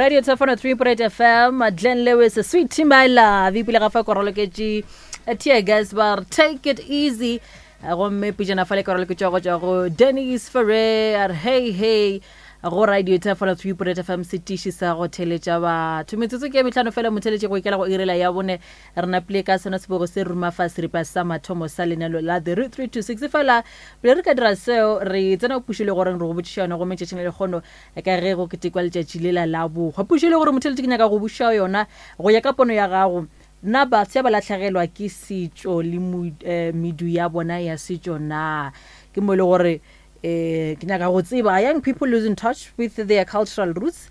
Radio Tefano 3.8 FM, Glenn Lewis, Sweet My Love, ipile ga fa koroloketše Tear Gas ba re take it easy. Gomme pejana fa le koroloketše go tšwa go Dennis Ferrer, a re hey hey go Radio Tefano 3.8 FM setiši sa go theletša batho. Metsotso ke ya mehlano fela motheletši go ikela go irela ya bone. Re napile ka sona sebogo se ruma fa seripa sa mathomo sa lenalo la The Route 326. Fela pele re ka dira seo re tsena go pušo le goreng re go botšiša yona gomme tšatšing la lekgono Ka ge go ketekwa letšatši lela la bohwa, pušo e le gore motheletši ke nyaka go buša yona go ya ka pono ya gago, na bafsa ba lahlegelwa ke setšo le medu ya bona ya setšo na? Ke mo e le gore ke nyaka go tseba, are young people losing touch with their cultural roots?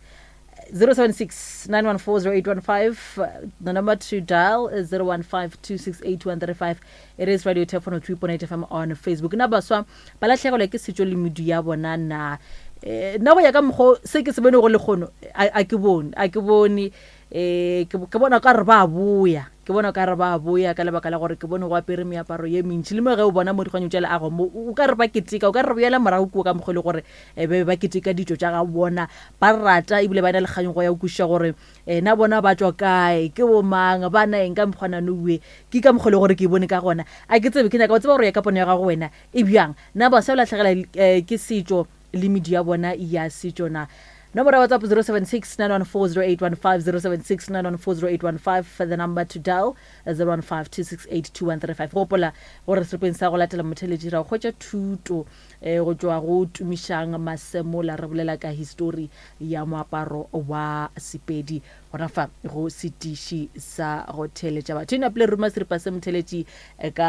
076 914 0815 the number to dial is 015 268 It is Radio Telefono 3.8 FM on Facebook. Na baswa ba lahlegelwa ke setšo le medu ya bona na? Eh, nna go ya ka mokgo se ke se bone go lekgono a ke bone a ke bone eh ke bona ka re ba boya ke bona ka re ba boya ka lebaka la gore ke bone go apere meaparo ye mentši le mo ge o bona mo dikganyong tša leago mo o ka re ba keteka o ka re boela morago kua ka mokgo e le gore eh, be ba keteka ditšo tša ga bona ba rata ebile ba na le kganyogo ya go kwešiša gore Eh, na bona ba tšwa kae, ke bomang, ba na eng ka mokgwana noue, ke ka mokgwa le gore ke e bone ka gona. A ke tsebe, ke nyaka go tseba gore ya ka pono ya gago wena e bjang. Na baswa ba lahlegela eh, ke setšo le medu ya bona ya setšo na? Nomoro ya WhatsApp 076 914 0815 076 914 0815 the number to dial 015 268 2135. Gopola gore seripeng sa go latela motheletši ra go hwetša thuto eh, go tšwa go Tumišang Masemola re bolela ka histori ya moaparo wa Sepedi gona fa go setiši sa go theeletša batho. E napile ruma seripa se motheeletši eh, ka.